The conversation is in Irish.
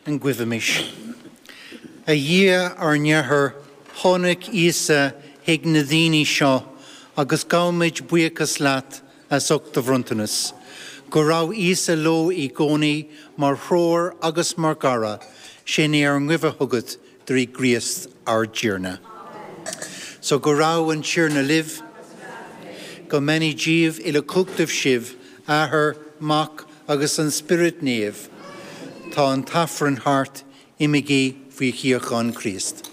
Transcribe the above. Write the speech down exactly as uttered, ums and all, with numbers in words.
An Guímis. A Dhia ár nAthair, tháinig Íosa chuig na daoine seo agus gabhaimid buíochas leat as ucht do bhronntanas. Go raibh Íosa leo i gcónaí mar threoir agus mar chara, sin é ár nguí chugat trí Chríost ár dTiarna. So go raibh an Tiarna libh, go mbeannaí Dia uilechumhachtach sibh, Athair, Mac agus an Spiorad Naomh, Tá an tAifreann thart, imígí faoi shíocháin Chríost.